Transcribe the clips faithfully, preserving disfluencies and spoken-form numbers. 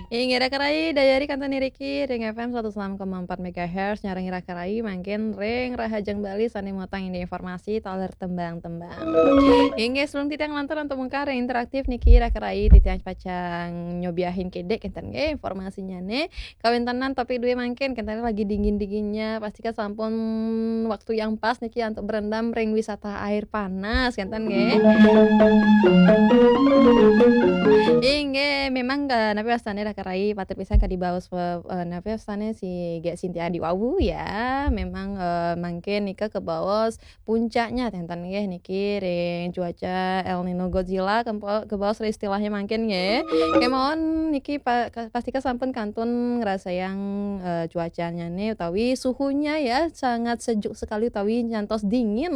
Inggih, Raka Rai, dayari kantun niki ring F M seratus enam koma empat megahertz, nyarengin Raka Rai mangkin ring Rahajeng Bali sané muatang indik informasi taler tembang-tembang. Inggih, sebelum titiang lantur antuk mungkar ring interaktif niki, Raka Rai, titiang pacang nyobiahin kidik kénten nggih informasinyané. Kawéntenan topik dué mangkin, kénten lagi dingin-dinginnya, pasti kan sampun waktu yang pas niki antuk berendam ring wisata air panas, kénten nggih. Inggih, memang, eh, napi wastané Raka Rai patut pisan kadi baos, eh, eh, napi wastané si Gék Sintia diwawu ya. Memang, eh, mangkin nika kabaos puncaknya ténten nggih niki ring cuaca El Nino Godzilla kempo-, kabaos istilahnya mangkin nggih. Kémaon niki pa-, ka-, pastika sampun kantun ngrasayang, eh, cuacanya nih utawi suhunya ya sangat sejuk sekali utawi nyantos dingin.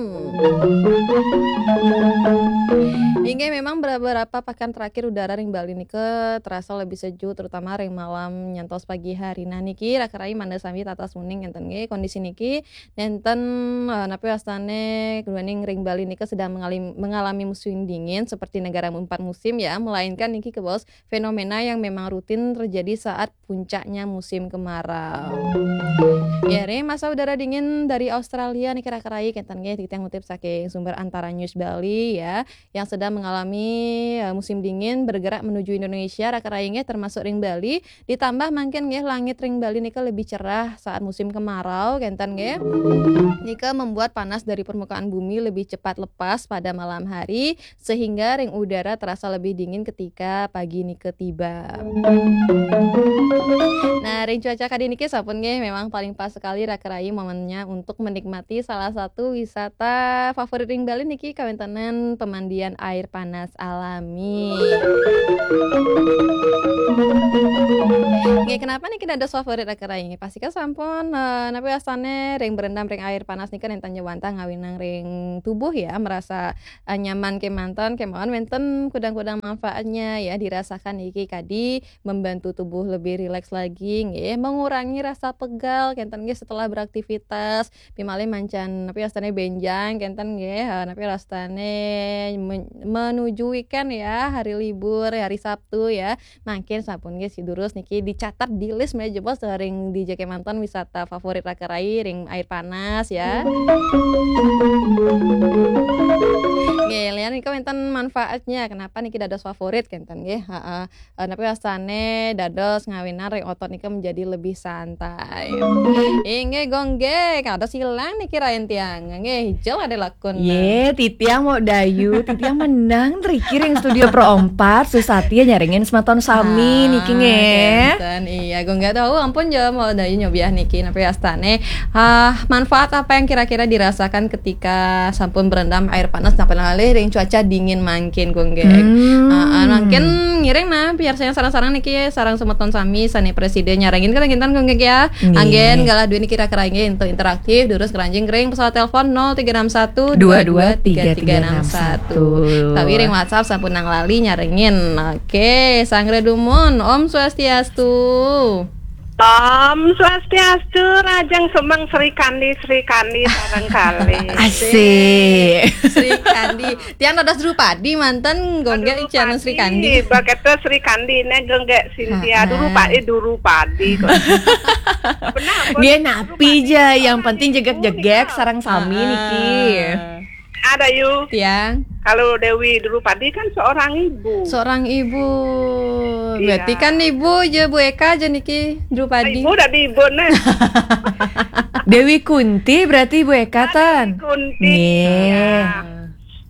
Inggih, memang beberapa pakan terakhir udara ring Bali nika terasa lebih sejuk, terutama ring malam nyantos pagi hari. Nah, niki Raka Rai mangda sami tatas uning kénten nggih, kondisi niki nénten, eh, napi wastané duaning ring Bali nika sedang mengalami, mengalami musim dingin seperti negara empat musim ya, melainkan niki kabaos fenomena yang memang rutin terjadi saat puncaknya musim kemarau. Ya, ring masa udara dingin dari Australia niki Raka Rai kénten nggih, titiang ngutip saking sumber Antara News Bali ya, yang sedang mengalami, eh, musim dingin bergerak menuju Indonesia, Raka Rai nggih, termasuk ring Bali, ditambah mangkin nggih langit ring Bali nika lebih cerah saat musim kemarau kénten nggih. Nika membuat panas dari permukaan bumi lebih cepat lepas pada malam hari, sehingga ring udara terasa lebih dingin ketika pagi nika tiba. Nah, ring cuaca kadi niki sampun nggih, memang paling pas sekali Raka Rai momennya untuk menikmati salah satu wisata favorit ring Bali niki, kawéntenan pemandian air panas alami. Nggih, kenapa niki dados favorit Raka Rai? Pastika sampun, eh, napi wastané ring berendam ring air panas nika nénten ja wantah ngawinang ring tubuh ya, merasa, eh, nyaman kémanten, kémaon wénten kudang-kudang manfaatnya ya, dirasakan niki kadi membantu tubuh lebih rileks lagi nggih, mengurangi rasa pegal kénten nggih setelah beraktivitas, pimalih mancan napi wastané bénjang kénten nggih, eh, napi wastané men-, menuju weekend ya, hari libur, hari Sabtu ya. Mangkin sampun nggih sidurus niki dicatat di list méh jebos ring dija kémanten wisata favorit Raka Rai ring air panas ya. Nggih, lian nika wénten manfaatnya. Kenapa niki dados favorit kénten nggih? Heeh. Eh, napi wastané dados ngawinang ring otot nika menjadi lebih santai. Inggih, Gung Gék, kados ilang niki rain tiang. Nggih, ijel ada lakun. Yé, titiang Mok Dayu, titiang menang riki ring studio Pro empat, susah ya nyarengin semeton sami niki nggih. Kénten, iya, Gung Gék tahu, ampun ja Mok Dayu nyobiah niki, napi wastané. Ah, manfaat apa yang kira-kira dirasakan ketika sampun berendam air panas, napi malih ring cuaca dingin mangkin, Gung Gék. Hmm. Ah, ah, mangkin ngiring nah, piarsayang sareng-sareng niki, sareng semeton sami, sané prasida nyarengin kénten, Gung Gék ya. Nggih. Anggén galah duwé niki Raka Rai nggih, untuk interaktif, durus ngranjing ring pesawat telepon nol tiga enam satu dua dua tiga tiga enam satu. Utawi ring WhatsApp sampun nang lali nyarengin. Oke, sanggra dumun. Om Swastiastu. Om Swastiastu, Rajang Sumeng Sri Kandi, Sri Kandi sareng kalih. Asik. Sri Kandi. Tiang dados Drupadi manten, Gung Gék Drupadi, Sri Kandi. Baketa Sri Kandi né, Gung Gék Sintia. Ha, ha. Drupadi, Drupadi kok. Benar, nggih, napi ja, yang penting jegeg-jegeg sareng sami niki. Ada, Yu. Tiang. Kalau Dewi Drupadi kan seorang ibu. Seorang ibu. Iya. Berarti kan ibu ja, Bu Eka ja niki Drupadi. Ibu dadi ibu né. Dewi Kunti berarti Bu Eka, tan? Dewi Kunti. Nggih. Iya.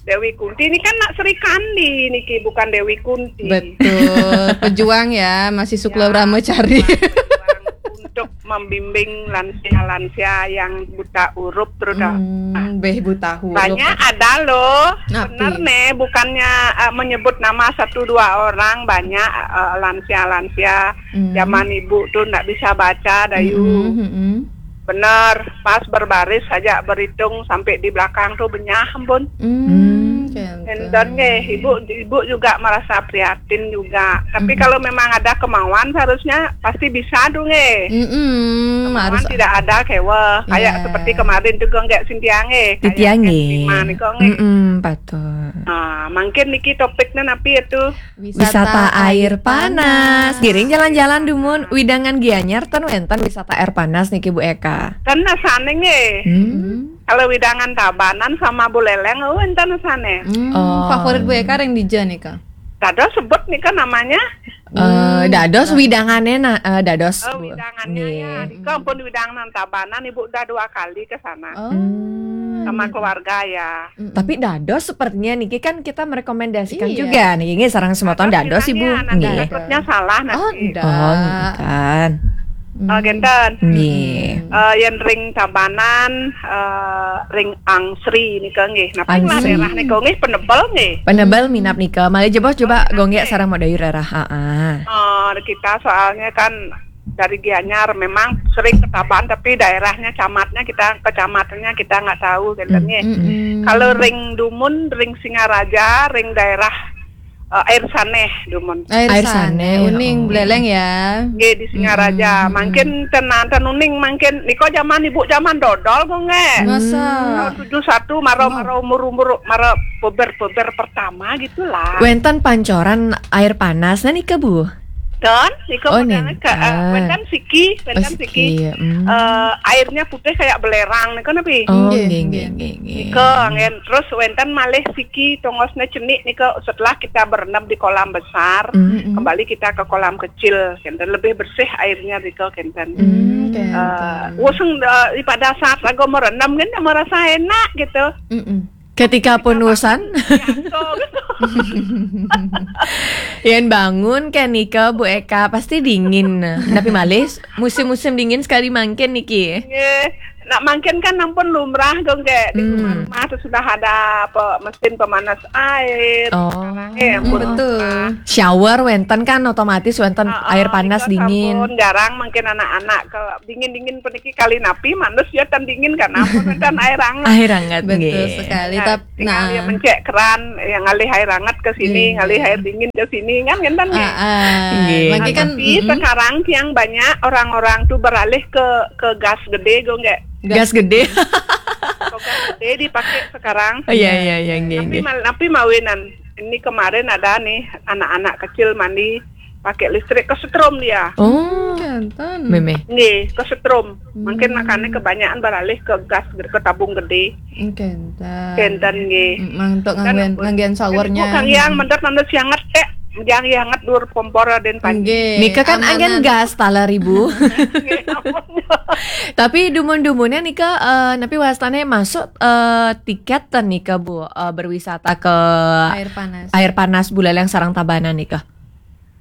Dewi Kunti ini kan nak Sri Kandi niki, bukan Dewi Kunti. Betul, pejuang ya, masih Sukla Brahmacari. Ya, pejuang untuk membimbing lansia-lansia yang buta huruf terus dah. Hmm, béh buta huruf. Banyak ada loh. Napi? Bener nih, bukannya, eh, menyebut nama satu dua orang, banyak, eh, lansia-lansia zaman ibu tuh ndak bisa baca, Dayu. Hmm, hmm, hmm. Bener, pas berbaris saja berhitung sampai di belakang tuh benyah, ampun. Hmm, hmm. Enten nggih, ibu ibu juga merasa prihatin juga. Tapi kalau memang ada kemauan, seharusnya pasti bisa tuh nggih. Mm-mm, Kemauan harus tidak ada kewe. Kayak Iya. Seperti kemarin tuh nggih Sintia nggih. Kayak Titia nggih. Estima niku nggih. Mm-mm, betul. Nah, mungkin niki topiknya napi itu. Wisata air panas. Giring jalan-jalan dumun Widangan Gianyar ten wenten wisata air panas niki Bu Eka. Kan nasane nggih. Hmm. Kalau Widangan Tabanan sama Buleleng, oh enten nasane. Hmm, Oh. Favorit Bu Eka yang di Jen nih kak. Dados sebut nika namanya. Eh, dados widangane nah eh, dados. Oh, Bu. widangannya ya. Nggih. Nika pun widangan Tabanan, ibu udah dua kali ke sana Oh. Hmm. sama keluarga ya. Tapi dados sepertinya niki kan kita merekomendasikan Iya. juga nih. Ini sarang semeton dados Ibu. Nah, Nggih. dapatnya salah Oh, nanti. enggak. Oh, kan. Oh, genten. Nggih. Eh, yen ring Tabanan, eh, ring Angsri nika nggih. Napa lah Angsri. Daerah nika nggih penebel nggih. Penebel minap nika. Malih jebos coba gonggek sarang modayur daerah. Heeh. Eh, kita soalnya kan dari Gianyar memang sering ke Tabanan, tapi daerahnya camatnya kita, kecamatannya kita nggak tahu genten nggih. Mm-mm. Kalau ring Dumun, ring Singaraja, ring daerah eh, Air Saneh Dumun. Air, Air Saneh, Saneh, Uning, oh. Beleleng ya. Nggih di Singaraja. Mangkin tenan tenuning mangkin niko zaman ibu zaman dodol kok nggih. Masa. Tahun tujuh satu maro maro umur-umur maro beber-beber pertama gitulah. Wenten pancoran air panas nah nika Bu. Dan niko Oh, modalnya ke, eh, nenten. wenten siki, wenten Oh, siki. siki, hmm. Eh, airnya putih kayak belerang niko napi? Oh, Nggih, nggih, nggih. nggih, nggih, nggih. Niko, ngen. Terus wenten malih siki tongosnya cenik niko setelah kita berendam di kolam besar, Hmm. kembali kita ke kolam kecil, kenten lebih bersih airnya niko kenten. Hmm, Eh, kenten. wuseng eh, pada saat lagu merendam kan merasa enak gitu. Mm-mm. Ketika pun usan, Jatuh gitu. yen bangun kan nika Bu Eka pasti dingin. Tapi malih musim-musim dingin sekali mangkin niki. Nggih. Nak mangkin kan ampun lumrah dong kayak di Hmm. rumah-rumah tuh sudah ada apa mesin pemanas air. Oh. Eh, ampun. Betul. Shower wenten kan otomatis wenten Ah, air panas itu dingin. Sampun jarang mangkin anak-anak ke dingin-dingin peniki kali napi manus ya tan dingin kan ampun kan air hangat. Air hangat Betul nggih. Sekali. Ya, Tapi tinggal nah, ya mencek keran yang ngalih air hangat ke sini, Iya. Ngalih air dingin ke sini kan kan ah, ah. Nggih. Lagi kan Tapi mm-mm. Sekarang yang banyak orang-orang tuh beralih ke ke gas gede gue nggak Gas gede. Ke gas gede dipakai sekarang. Iya iya iya nggih Tapi nggih. mal, tapi mawinan ini kemarin ada nih anak-anak kecil mandi pakai listrik kesetrum dia. Oh, Kenten. Meme. Nggih, kesetrum. Mungkin makanya kebanyakan beralih ke gas gede, ke tabung gede. Kenten. Kenten nggih. Mm, Mang untuk Kan ngangguan ngangguan showernya. Kang yang mendet mendet sianget eh, yang hangat dur kompor dan panci. Nggih, Nika kan amanan. Angin gas taler ibu. Tapi dumun-dumunnya nika eh, napi wastane masuk eh, tiket ten nika Bu eh, berwisata ke Air panas. air panas Buleleng sarang Tabanan nika.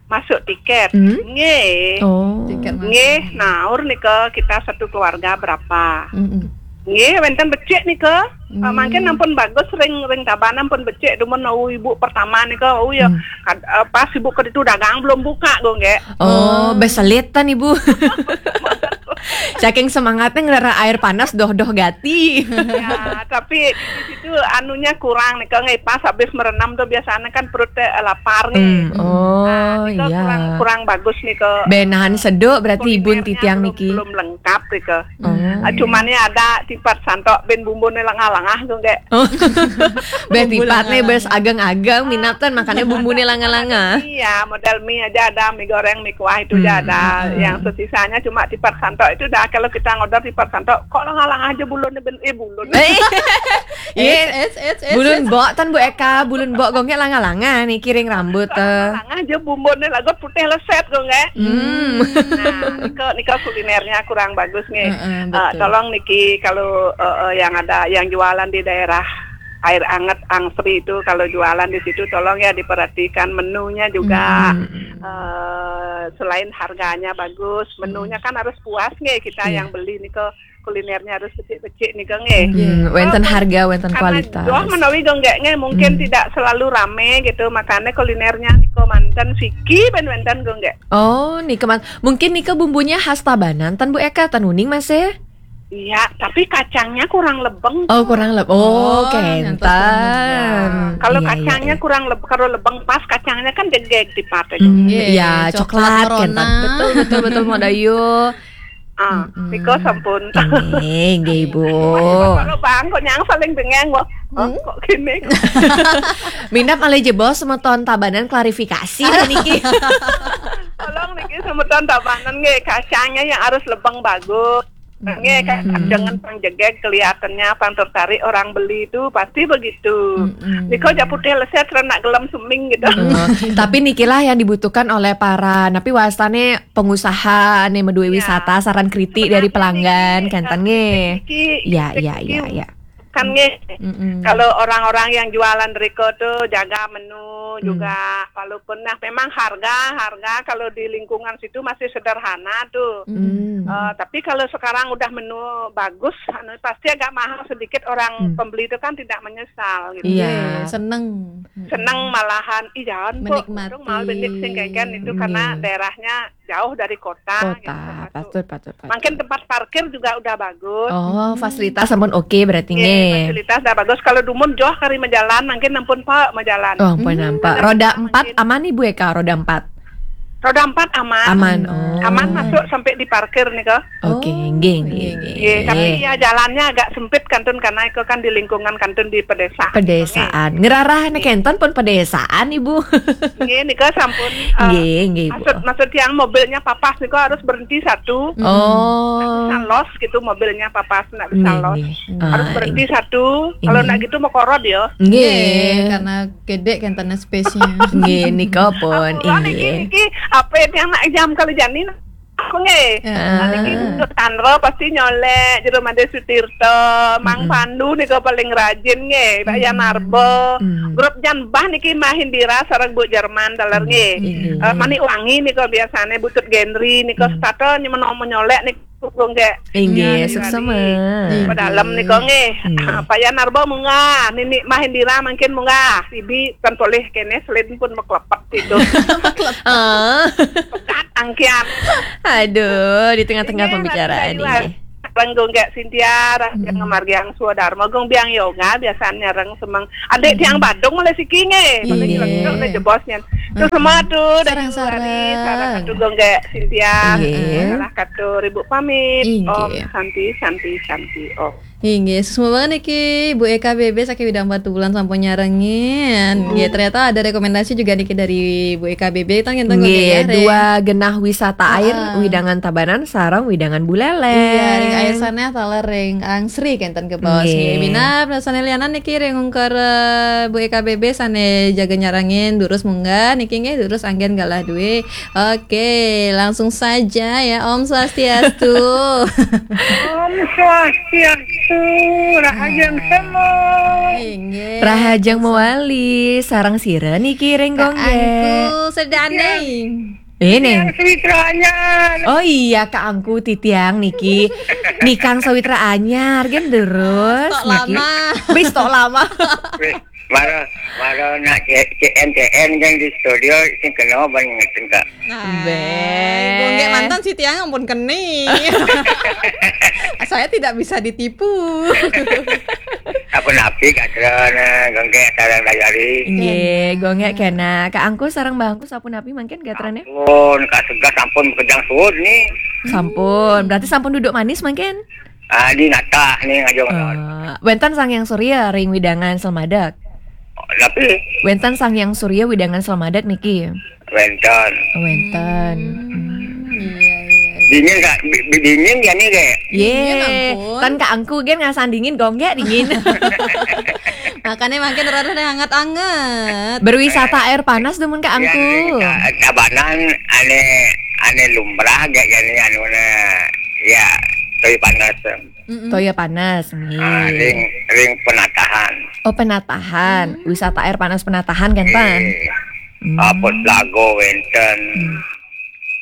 Masuk tiket. Hmm? Nggih. Oh. Tiket masuk. Nggih, naur nika kita satu keluarga berapa? Mm-mm. Nggih, wenten becik nika. Hmm. Uh, mangkin ampun bagus ring ring Tabanan pun becik dumun au ibu pertama nika. Oh ya, Hmm. kad- uh, pas ibu ke itu dagang belum buka go nggih. Oh, beselit tan ibu. Saking semangatnya ngerara air panas doh-doh gati. Ya, tapi di situ anunya kurang nih, kalau nggak pas habis merenam tuh biasanya kan perutnya eh, lapar nih. Hmm, oh Nah, itu iya. kurang kurang bagus nih ke Benahan seduk berarti ibun kulinernya titiang belum, niki. Belum lengkap nih ke. Oh. Ah, cuman nih ada tipat santok ben bumbune langah-langah tuh kayak. Beh tipat nih bes ageng-ageng minatan makanya bumbune langah-langah. Iya, model mie aja ada, mie goreng, mie kuah itu aja Hmm, ada. Yang sesisanya cuma tipat santok itu dah kalau kita ngorder tipat santok kok langah-langah aja bulunnya ben eh bulun. Eh, Eits, eits, eits, eits. Bulun bok tan Bu Eka, bulun bok gongnya langah-langah nih kiring rambut eh. Langah aja bumbune lagu putih leset gue nggak. Hmm. Nah, niko niko kulinernya kurang bagus nih. Heeh, Eh, betul. Tolong niki kalau eh, eh, yang ada yang jualan di daerah air anget Angsri itu kalau jualan di situ tolong ya diperhatikan menunya juga. Eh, selain harganya bagus, menunya kan harus puas nih kita Iya. Yang beli niko kulinernya harus becik-becik niko nggih. Hmm, wenten harga, wenten Karena kualitas. Doh menawi gue nggak nggih mungkin Hmm. tidak selalu rame gitu, makanya kulinernya niko manten siki ben wenten gue nggak. Oh, nih keman. Mungkin nika bumbunya khas Tabanan tan Bu Eka tan uning masih. Iya, tapi kacangnya kurang lebeng. Oh, kurang lebih. Oh, Oh, nyantos kenten. Kalau Iya, iya, kacangnya iya. Kurang lebeng, kalau lebeng pas kacangnya kan degeg di partai. Hmm, Iya, iya, coklat coklat merona. Kenten. Betul, betul, betul, mau dayu. Ah, Mm-mm. Nika sampun. Inggih, inggih, Bu. Kalau bang kok nyang saling dengeng kok. Oh, Hmm? Kok gini? Minap malih jebos semeton Tabanan klarifikasi niki. Tolong niki semeton Tabanan nggih, kacangnya yang harus lebeng bagus. Nggih, kan Hmm. Jangan pang jegeg kelihatannya, pang tertarik orang beli itu pasti begitu. Mm-mm. Nika aja putih leset, nak gelem seming gitu. Oh, tapi nikilah yang dibutuhkan oleh para napi wastane pengusaha nih, medue Iya. wisata, saran kritik dari pelanggan, kenten nggih. Niki, Ya, ya, niki ya, ya. Kan nggih. Mm-mm. Kalau orang-orang yang jualan riko tuh jaga menu Hmm. juga, walaupun nah memang harga harga kalau di lingkungan situ masih sederhana tuh. Mm-mm. Hmm. Eh, tapi kalau sekarang udah menu bagus, anu, pasti agak mahal sedikit, orang Hmm. pembeli itu kan tidak menyesal gitu. Iya. Nggih, seneng. Seneng malahan, ih jangan kok, Menikmati. Untung mahal benik sing kayak itu karena Iya. Daerahnya jauh dari kota. Kota, Gitu, satu. Patut, patut, patut. Mungkin tempat parkir juga udah bagus. Oh, fasilitas sampun oke berarti Iya, nggih. Fasilitas udah bagus. Kalau dumun jauh kari majalan, mungkin ampun Pak majalan. Oh, ampun Hmm. nampak. Roda empat aman nih Bu Eka, roda empat. Roda empat aman. Aman. Oh. Aman masuk sampai di parkir nih kok. Oke, Oh, nggih, iya, nggih, iya. nggih. Iya, tapi ya jalannya agak sempit kantun karena itu kan di lingkungan kantun di pedesaan. Pedesaan. Ngerarah nek kenten pun pedesaan, Ibu. Nggih, nika sampun. Eh, Nggih, nggih, Bu. Maksud maksud yang mobilnya papas niku harus berhenti satu. Oh. Bisa los gitu mobilnya papas, nggak bisa Nggih, los. nggih. Harus Ah, berhenti satu. Kalau Nggih. nggak gitu mau korod ya. Nggih. Karena gedek kenten space-nya. Nggih, nika pun Ora niki inggih. Niki apa itu yang nak jam kalau jani aku nggih. Ya. Ah. Niki untuk tanro pasti nyolek jero Made Sutirta, Mang Mm-mm. Pandu nika paling rajin nggih, Mbak Yan Mm. Arbo. Hmm. Grup Jan Bah niki Mah Indira sareng Bu Jerman taler nggih. Inggih. Eh, Manik Wangi nika biasane Butut Genri nika Hmm. setata nyemeno menyolek niku nggih. Inggih, Iya, suksema. Inggih. Pedalem nika nggih. Inggih. Pak Yan Arbo munggah, Nini Mah Indira mangkin munggah. Ibi kan polih kene selin pun meklepet itu. Ah. Pekat angkian. Aduh, di tengah-tengah Ini pembicaraan nanti ini. Reng Gung Gek Sintia, reng Mm-mm. Margiang Swadarma, Gung Biang Yoga biasanya reng semeng. Adik tiang Badung oleh siki nggih, oleh Iya. Jelenduk, oleh jebosnya. Tuh semua tuh dari Sarang-sarang. Wali, sarang satu Gung Gek Sintia. Iya. Salah katu ribu pamit. Inggih. Om Santi, Santi, Santi. Om. Inggih, suksma banget niki Bu Eka B B saking Widang Batubulan sampun nyarengin. Nggih, ternyata ada rekomendasi juga niki dari Bu Eka B B. Tang enten kok Nggih, ya, Re? Dua Genah Wisata Air, Ah. Widangan Tabanan sareng Widangan Buleleng. Iya, ring air sana taler ring angsri kenten ke bos. Nggih. Nggih, minab sane lianan niki ring ungkur, eh, Bu Eka B B sane jaga nyarengin durus munggah niki nggih durus anggen galah duwe. Oke, langsung saja ya. Om Swastiastu. Om Swastiastu, Rahajeng Semua. Inggih. Rahajeng mewali, sareng sira niki ring Gung Gek. Angku sedane. Ini. Yang Sawitra Anyar. Oh iya, Kak Angku titiang niki. Nikang Sawitra Anyar gen terus Tok niki. Lama. Wis tok lama. Wis, mara mara nak C- C N C N kan di studio sing kena ban ngeten, Kak. Nah, Beh. Gung Gek mantan si tiang ampun keni. Saya tidak bisa ditipu. Apa napi, Kak Tron, Gung Gek sareng Dayari. Nggih, Gung Gek kena. Kak Angku sareng Mbah Angku sapunapi mangkin gatrane? Pun Kak Segas sampun kejang suud nih. Sampun. Berarti sampun duduk manis mangkin? Ah, di natah nih ngajeng. Eh, wenten Sang Hyang Surya ring Widangan Selmadeg. Tapi Wenten Sang Hyang Surya Widangan Selmadeg niki. Wenten. Wenten. Iya, iya. Dingin, Kak. Bi- bi- dingin ya nih, Kak. Ye, Dingin, ampun. Tan Kak Angku gen ngasaan dingin, Gung Gek dingin. Makanya makin rada hangat-hangat. Berwisata air panas demen Kak Ya, Angku. Kak, Tabanan ane ane lumrah gak ya nih anu, ya, tapi panas. Mm-mm. Toya panas Ah, nggih. ring ring penatahan. Oh, penatahan, wisata air panas penatahan kan pan? Eh, Hmm. Apa lago wenten.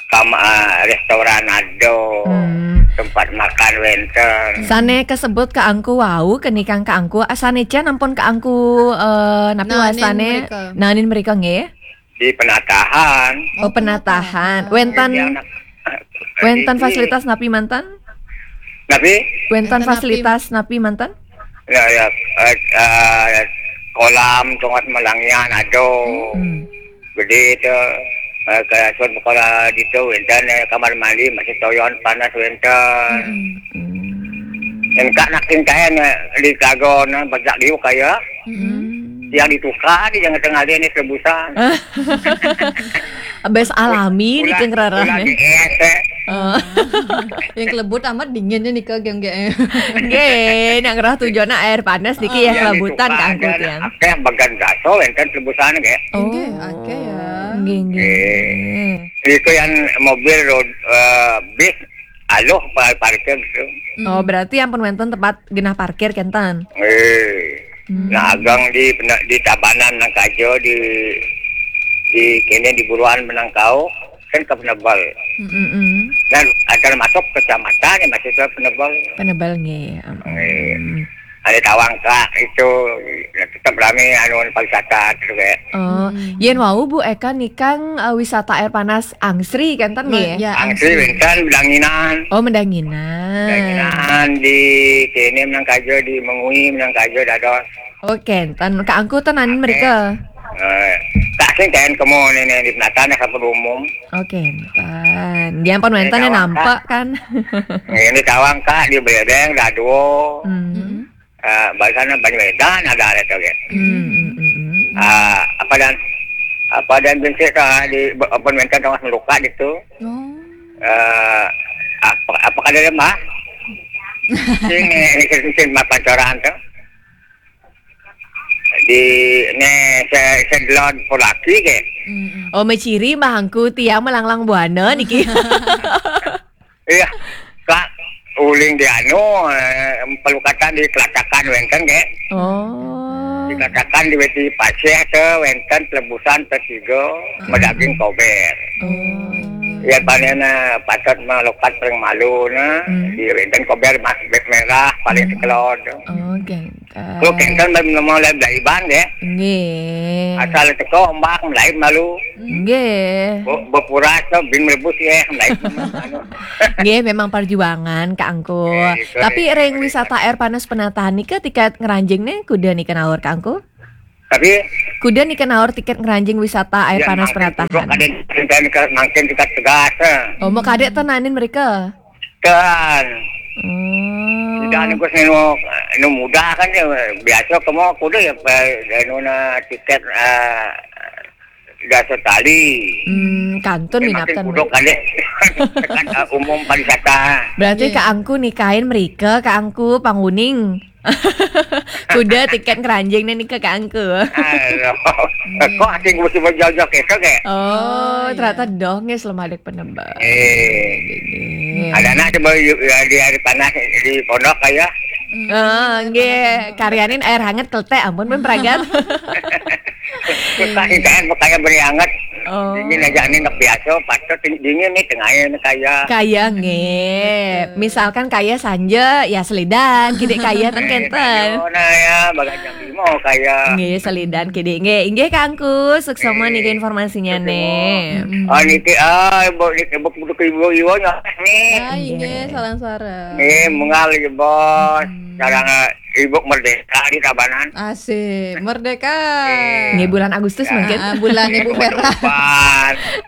Sama ah, restoran ada. Hmm. Tempat makan wenten. Sane kasebut Kak Angku wau, kenikang Kak Angku, ah, sane jan ampun Kak Angku, eh, napi Nanin wastane? Mereka. Nanin mereka nggih. Di penatahan. Oh, penatahan. Wenten Yang nak- wenten Iki, fasilitas napi mantan? Napi? Wénten fasilitas napi manten? Ya, ya, eh, eh, kolam, tongos malangian, aduh. Hmm. Gedé to. Eh, kayak sun sekolah gitu, wénten, eh, kamar mandi, masih toyon, panas, wénten. Hmm. Engka nak tingkaen, eh, di kagon, eh, bajak diuk kaya. Hmm. Yang ditukar, di jangan tengah dia ni rebusan. Bes alami ni keng rarah ni. Yang kelebut amat dinginnya ni ke geng geng. Nggih, nak ngerah tujuan air panas niki ya kelebutan kangku tiang. Akeh bagan gaso wénten kelebusan nggih. Oh, nggih, akeh ya. Nggih, nggih. Itu yang mobil road, eh, bis aluh pa-, parkir gitu. Oh, berarti yang pun wénten tempat genah parkir kenten. Eh. Hmm. Nah, agang di pena-, di Tabanan Menangkajo, di, di kene di Buruan Menangkau, kan ke Penebel. Hmm, hmm, hmm. Dan ada masuk kecamatan yang masih ke Penebel. Penebel nggih. Hmm. Ada tawang kak itu, tetap ramai anu pariwisata tu kayak. Oh, hmm. Yen wau Bu Eka nikang, eh, wisata air panas angsri kenten nggih? Ya, angsri wénten Mendanginan. Oh, Mendanginan. Mendanginan di kene Menangkajo, di Mengwi Menangkajo dados. Oh, kenten. Kak angku tenan mereka. Eh, tak sing kaen kemo ni, ni di penatan ya kapal umum. Oh, kenten. Dia pun wénten nampak kan. Ini tawang kak di Bedeng, Daduo. Hmm. Eh, barisan Banyu Edan ada ada tu ya. Hmm, hmm, hmm, hmm. Ah, apa dan, apa dan binsik tu, ah, di, apa wénten tengah melukat itu. Oh. Eh, apa, apa kada dia mah? Sini, ini sini mah pancoran tu. Di ne se-, sedelon polaki ke. Mm-mm. Oh, meciri mah angku tiang melanglang buana niki. Iya, kak uling di anu, eh, pelukatan di kelatakan wénten ke. Oh. Di kelatakan di weti pasir ke wénten telebusan tetiga, ah, medaging kober. Oh, iya. Ya, panen, eh, patut melukat paling malu na. Hmm. Di wénten kober mas-, merah paling, hmm, sekelod. Oh, geng. Kalau kenten bari nama lain dari ban ya. Nggih. Asal teko ombak lain malu. Nggih. Be-, bepuras tu bin merebus ya, lain malu. Nggih, memang perjuangan Kak Angku. Nggih, itu. Tapi ring wisata air panas Penataan nika tiket ngranjing ne kuda nika naur Kak Angku? Tapi kuda nika naur tiket ngranjing wisata air panas Penataan. Ada kenten mangkin tiket tegas, eh. Oh, mau kadek tenanin mereka? Kan. Hmm. Tidak nunggu nu, nu muda kan ya, biasa kemo kuda ya, eh, nu na tiket, eh, biasa tali. Hmm, kantun. Makin minatan kuda kan deh. Kan, eh, umum pariwisata. Berarti, iya, Kak Angku nikain mereka, Kak Angku panguning. Kuda tiket keranjing nih ke Kak Angku. Aduh. Iya. Kok asing mesti berjauh-jauh ke, ke? Oh, oh, iya, ternyata doh nggih selama ada penebak. Eh. Nggih, nggih. Ada anak coba yu-, ya, di hari panas di pondok kaya. Hmm. Oh, nggih, karyanin air hangat keletek ampun pun pragat. Susah sih kan makanya beri hangat. Oh. Dingin aja nih nak biasa, patut dingin nih tengahnya nih kaya. Kaya nggih. Betul. Misalkan kaya sanja ya selidan, kidik kaya ten kenten. Kaya, nah ya, bagas jam lima kaya. Nggih, selidan kidik nggih. Inggih Kak Angku, suksma niki informasinya nih. Mm-mm. Ah, niki, ah, ibu, niki, ibu, ibu, ibu, ibu, nya, nih. Ah, inggih, salam suara. Nih, mengal lagi, Bos. Mm. Sekarang, eh, Ibu Merdeka di Tabanan. Asik, Merdeka. Nggih, bulan Agustus mungkin. Ah, bulan Ibu Vera.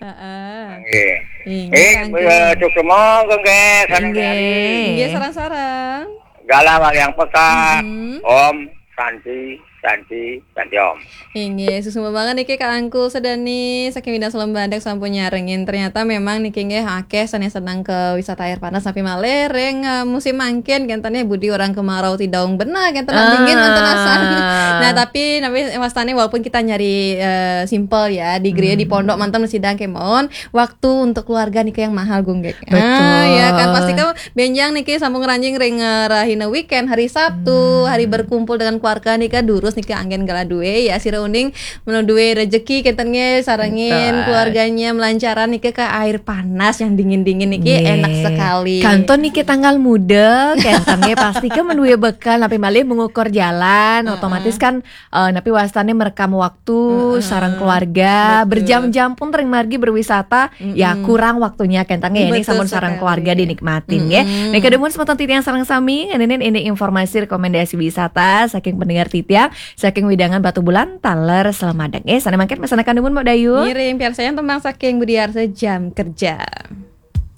Heeh. Nggih. Inggih, eh, Kang, eh, suksma, Kang, nggih, sareng inggih. Inggih, sareng-sareng. Galah wayang peka. Mm-hmm. Om Santi, Santi, Santi Om. Inggih, suksma banget niki Kak Angku Sedani saking Widang Selembandek sampun nyarengin. Ternyata memang niki nggih akeh sane seneng ke wisata air panas, tapi malih ring, eh, musim mangkin kenten ya budi orang kemarau tidaung beneh kenten, ah, dingin wonten asan. Nah, tapi napi wastane walaupun kita nyari, eh, simple ya, di gereja, di pondok manten sidang kemawon, waktu untuk keluarga niki yang mahal, Gung Gek. Betul. Ah, ya kan, pasti kan benjang niki sampun ngranjing ring, eh, rahina weekend, hari Sabtu, hari berkumpul dengan keluarga nika durus Terus niki anggen gala duwe ya, sira uning menu duwe rezeki kenten nggih, sarengin Betul. Keluarganya melancaran niki ke air panas yang dingin-dingin niki Nggih. Enak sekali. Kantun niki tanggal muda, kenten nggih pasti ke menduwe bekal, napi malih mengukur jalan, otomatis kan eh, napi wastane merekam waktu sareng keluarga, Betul. berjam-jam pun ring margi berwisata, ya kurang waktunya kenten nggih ini Betul sampun sareng sekali. Keluarga dinikmatin nggih. Nika dumun semeton titiang sareng sami ngeninin ini informasi rekomendasi wisata saking pendengar titiang saking wewidangan Batubulan taler Selemadeg. Eh, sane mangkin mesanaken dumun Mbok Dayu. Ngiring piarsayang tembang saking Budi Arsa Jam Kerja.